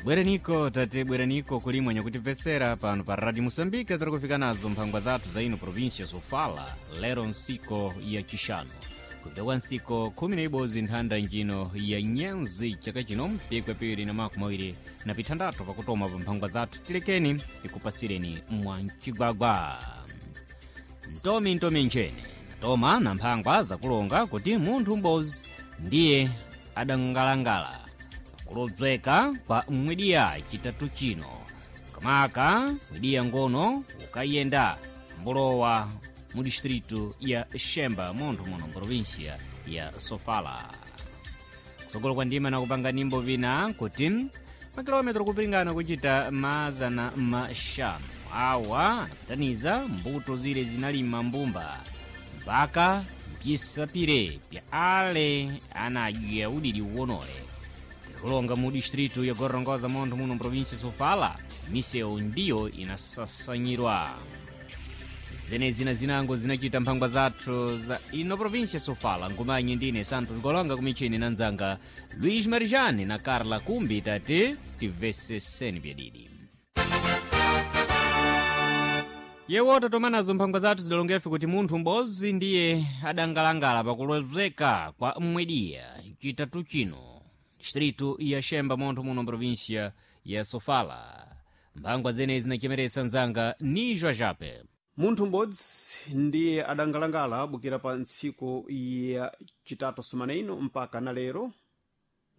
Bweraniko tate, bweraniko kulimwe nyakutibvesera pano pa Radio Moçambique. Tiri kufika nazo mphangwa zathu za ino província Sofala lero ntsiko ya chixanu kupita kwa ntsiko 11 nthanda njino ya nyenzi chaka chino mpikwe 2026. Pakutoma pa mphangwa zathu tilekeni tikupasireni mwancigwagwa ntomi ntomi nchene natoma na mphangwa zakulonga kuti munthu m'bodzi ndiye adangalangala pakulodzeka kwa mwidiya chitatu chino, kamaka mwidiya ngono ukayenda mbulowa mu distritu ya Xemba munthu muno província ya Sofala. Kusogolo kwa ndima nakupanga nimbo vina kuti makilometro kupingana kuchita 500 awa anapitaniza mbuto zile zinalima mbumba mpaka mpisapire pya ale anadya udidi uwonole. Kulonga mu distritu ya Gorongosa munthu muno província Sofala misewu ndiyo inasasanyirwa. Zenezi na zinango zinachita mphangwa zathu za ino província Sofala. Ngumanye ndine Santos Golonga kumichini na nzanga Luis Marijani na Carla Kumbi. Tate tiveseseni byadidi yewo tatomanazo mphangwa zathu zidalongefe kuti munthu m'bodzi ndiye adangalangala pakulozeka kwa mwediya chitatu chino distritu ya Xemba munthu muno província ya Sofala. Mphangwa zenezi zinachemeresa nzanga nijwa jape. Munthu m'bodzi ndiye adangalangala bukira pa ntsiku ya chitatu sumana ino mpaka na lero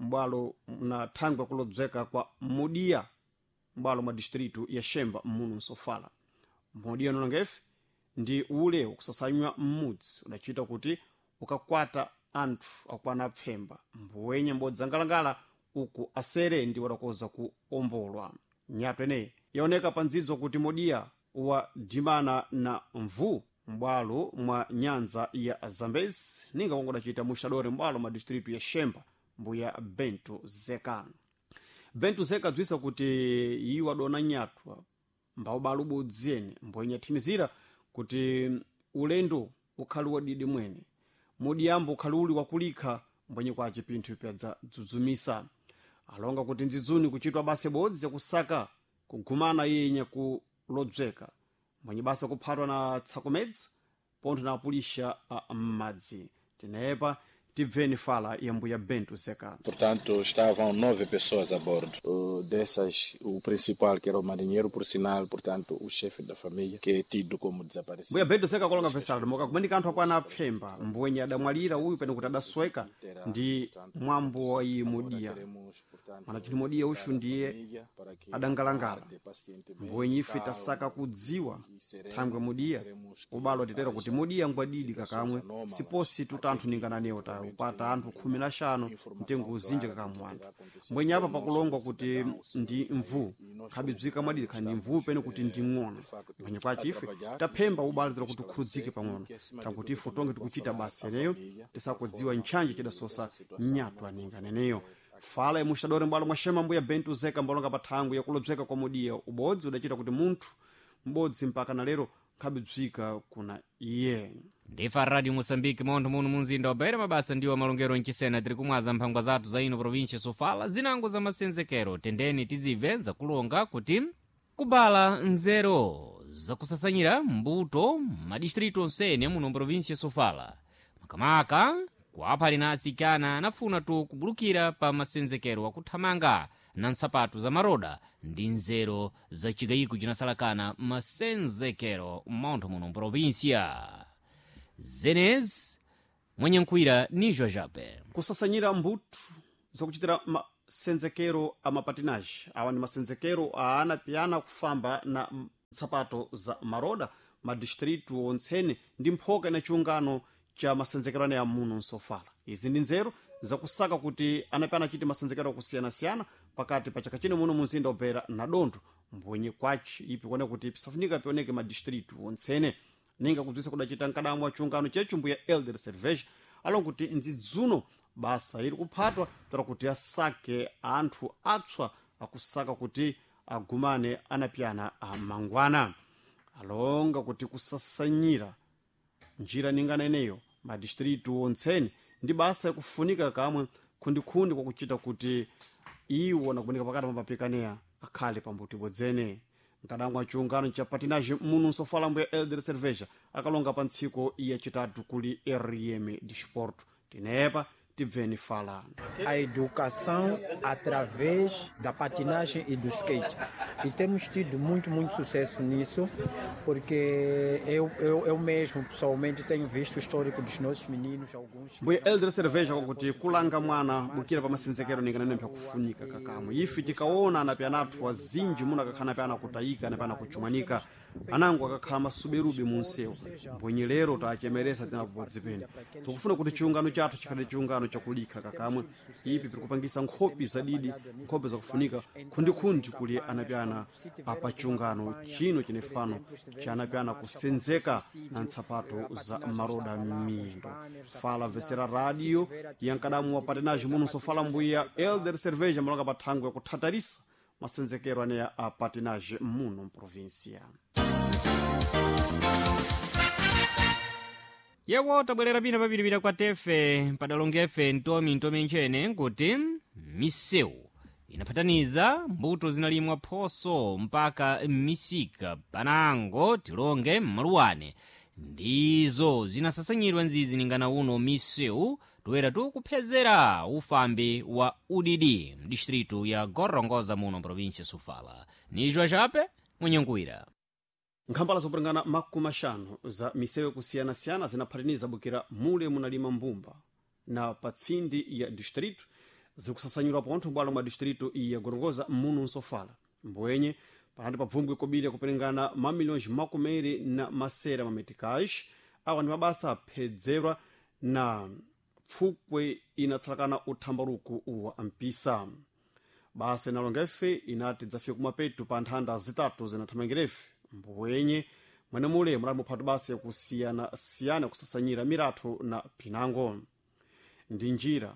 m'bwalo na thangwe kulodzeka kwa mudiya m'bwalo mwa distritu ya Xemba muno Nsofala. Mudiya nonongefe ndi ule ukusasanywa m'mudzi udachita kuti ukakwata anthu akwana apfemba mbuwenye m'bodzi angalangala uku asere ndi wadakoza ku ombolwa. Nyato ineyi yaoneka pa ndzidzo kuti mudiya wadimana na mvu m'bwalo mwa nyanza ya Zambezi ninga kongo dacita muxadore m'bwalo mwa distritu ya Xemba mbuya Bento Zeka. Bento Zeka bzisa kuti iwo adona nyatwa mbawubala ubodzi ene mboyenye athimizira kuti ulendo ukhali wadidi mwene mudiyambo ukhali uli wakulikha mbwenye kwace pinthu pyadzadzidzumisa. Alonga kuti ndzidzuni kuchitwa basa ibodzi yakusaka kugumana iye kulodzeka mwenye basa kuphatwa na tsakomedzi pontho na apulixa a m'madzi. Tinepa tibveni fala ya mbuya Bento Zeka. Portanto, estavam nove pessoas a bordo. Dessas, o principal, que era o marinheiro, por sinal, portanto, o chefe da família, que é tido como desaparecido. Mbuya Bento Zeka akulonga vesalo moka kumanika anthu akwana apfemba mbuwenye adamwalira uyu pene kuti adasweka ndi mwambo wa iye mudiya mana chiti mudiya uxu ndiye adangalangala mbuwenye ife tasaka kudziwa thangwe mudiya ubalo titera kuti mudiya ngwadidi kakamwe siposi tutanthu ningananewo ta upata anthu 15 mtengo uzinji kakamwe anthu mbwenye apa pakulongwa kuti ndi mvu khabibzika mwadidi khandi mvu pene kuti ndi ng'ona mbwenye kwace ife taphemba ubalo tera kuti ukhudzike pang'ono takuti ife tonge tikuchita basa eneyo tisakudziwa ntchanje chidasosa nyatwa ninganeneyo. Fala imuxadore m'bwalo mwa Xema mbuya Bento Zeka mbalonga pa thangwi yakulodzeka kwa mudiya ubodzi udachita kuti munthu m'bodzi mpaka na lero nkhabibzika kuna iye. Ndifa Radio Moçambique montho muno munzinda wa Beira mabasa ndiwo malongero mchisena. Tiri kumwaza mphangwa zathu za ino província Sofala zinango za masenzekero. Tendeni tizibve zakulonga kuti kubala nzero zakusasanyira mbuto madistritu onsene muno província Sofala, makamaka kuaphali na atsikana anafuna tu kubulukira pa masenzekero akuthamanga na ntsapatu za maroda ndi nzero za chigayiko cinasalakana masenzekero montho muno província. Zenez mwenyenkhwira ni jajape. Kusasanyira mbuto zakuchitira masenzekero a mapatinaji awa ndi masenzekero a ana piyana kufamba na nsapato za maroda madistritu ontsene ndi mphoka ina chiungano cha masenzekero ane muno Nsofala. Izi ndi nzeru zakusaka kuti anapiyana achite masenzekero akusiyana-siyana pakati pa chaka chino muno munzinda wa na dontho mbwenye kwaci ipi kuoneka kuti pisafunika pioneke madistritu ontsene ninga kubzisa kudacita mkadamwa wa chiungano chechu mbuya Elder Cerveja alonga kuti ndzidzuno basa iri kuphatwa tora kuti asake anthu atswa akusaka kuti agumane anapiyana amangwana. Alonga kuti kusasanyira njira ningana ineyo madistritu ontsene ndi basa yakufunika kamwe khundikhundi kwakuchita kuti Iwo nakumanika pakati pamapikaneya akhale pambuti bodzene. Mkadangwa chiungano cha patinage muno nsofala mbuya Elder Cerveja akalonga pa ntsiko yacitatu kuli RM Disporto. Tinepa tibveni fala. A educação através da patinagem e do skate. E temos tido muito, muito sucesso nisso, porque eu mesmo, pessoalmente, tenho visto o histórico dos nossos meninos, alguns... Mbuya Elder Cerveja kwakuti kulanga mwana bukira pa masenzekero ninganene kufunika kakamwe. Ife tikaona anapyana athu azinji muno akakhala napyana kutayika napyana kuchumanika, anango akakhala masuberube mu nsewu. Mbwenye lero tachemeresa tinapobodzi pene. Tikufuna kuti chiungano chathu chikhale chiungano chakulikha kakamwe. Ipi pirikupangisa nkhopi zadidi, nkhopi zakufunika khundikhundi kuli anapyana apa chiungano chino chinefe pano cha anapyana kusenzeka na ntsapato za maroda m'miyendo. Fala vesera radio yankadamu wa patinage muno sofala mbuya Elder Cerveja malonga pa thangwe yakuthatarisa masenzekero aneya a patinage muno mprovinsia. Yewo tabwerera pina papitipita kwa tefe padalongefe ntomi ntomi ntchene nkuti misewu inaphataniza mbuto zinalimwa phoso mpaka m'misika panango tilonge m'maluwane ndizo zinasasanyidwa nzizi ningana uno misewu toera tukuphezera ufambi wa udidi mdistritu ya Gorongosa muno provinsia Sofala. Nijwa chape mwenyenkuwira. Nkhambala zopulangana 50 za misewu kusiyana-siyana zinaphataniza bukira mule munalima mbumba na patsindi ya distrito zikusasanyidwa pontho bwalo mwa distrito ya Gorongosa muno nsofala. Mbwenye panati pabvumbwe kobiri yakuperengana mamilhões makumeri na masera mameticais. Awa ndi mabasa aphedzerwa na pfukwe inatsalakana uthambaruku wa mpisa. Basa inalonga ife inati dzafika kumapetu pa nthanda zitatu zinathamangirefe. Mbwenye mwene mule mulali muphatu basa yakusiyana-siyana kusasanyira miratho na pinango. Ndi njira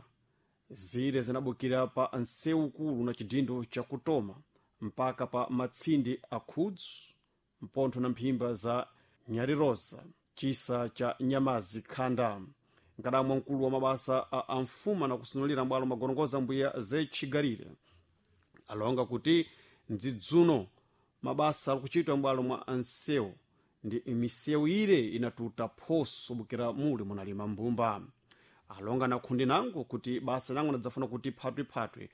zire zinabukira pa nsewu kulu na chidindo chakutoma mpaka pa matsindi a khudzu mpontho na mphimba za nyarirosa chisa cha nyamazi khanda. Nkadamwa mkulu wa mabasa a amfuma na kusunulira mbwalo magorongoza mbuya zechigarire alonga kuti ndzidzuno mabasa akuchitwa mbwalo mwa ansewu ndi misewu ire inatuta phoso bukira muli munalima mbumba. Alonga na khundi nango kuti basa nango nadzafuna kuti phatwiphatwi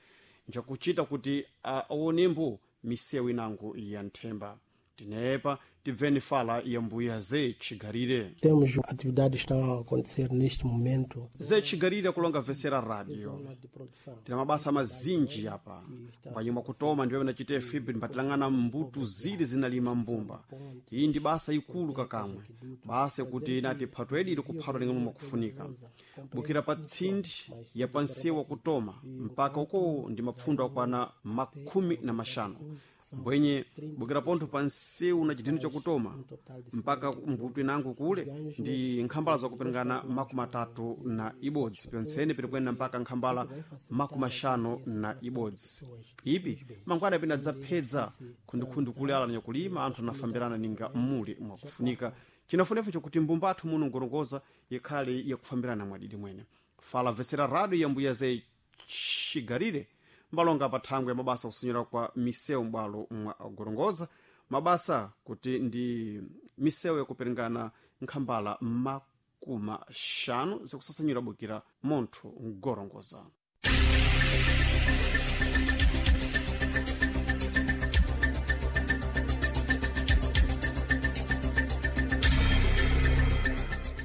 njakuchita kuti aonembo misewu inango ya nthemba. Tinepa tibveni fala ya mbuya Zechigarire. Temos atividades que estão a acontecer neste momento. Zechigarire akulonga vesera radio. Tina mabasa mazinji apa. Panyuma kutoma ndiwe nachite fibri mbatilang'ana mbuto zili zinalima mbumba. Iyi ndi basa ikulu kakamwe. Basa kuti inati phathu edi ili kuphatwa ling'ono mwakufunika. Bukira pa tsindi ya pansewu kutoma mpaka uko ndi mapfundo akwana 15. Mbwenye bukira pontho pa nsewu na chidini chakutoma mpaka mbuto inango kule ndi nkhambala zakuperengana 31 pyontsene pirikwenda mpaka nkhambala 51. Ipi mangwana pina dzaphedza khundikhundi kule ala nyakulima anthu anafambirana ninga mmuli mwakufunika. Chinafunefu chakuti mbumba athu muno Gorongosa ikhale yakufambirana mwadidi mwene. Fala vesera radio ya mbuya Zechigarire mbalonga pa thangwe ya mabasa kusinyira kwa misewu m'bwalo mwa Gorongosa. Mabasa kuti ndi misewu yakuperengana nkhambala 50 zikusasanyira bukira montho Gorongosa.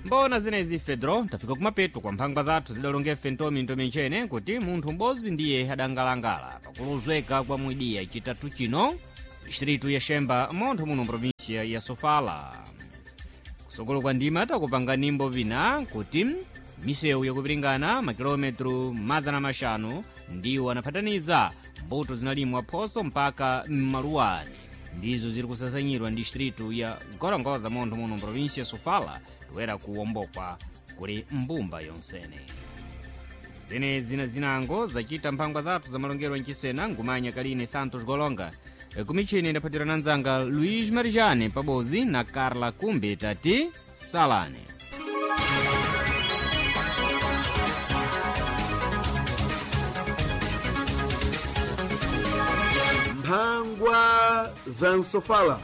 Mbona zenezi Fedro tafika kumapeto kwa mphangwa zathu zidalongefe ntomi ntomi ntchene kuti munthu m'bodzi ndiye adangalangala pakuluzweka kwa mwidiya chitatu chino distritu ya Xemba montho muno provinsia ya Sofala. Kusokolo kwa ndima takupanga nimbo vina kuti misewu yakupiringana makilometro 500 ndiwo anaphataniza mbuto zinalimwa phoso mpaka m'maluwani ndizo ziri kusasanyidwa ndi distritu ya Gorongosa montho muno provinsia ya Sofala toera kuwombokwa kuli mbumba yonsene. Zenezi na zinango zachita mphangwa zathu za malongero mchisena ngumanya kaline Santos Golonga kumichini ndaphatirana nzanga Luiz Marijane pabozi na Carla Kumbe tati salane. Mphangwa za Nsofala.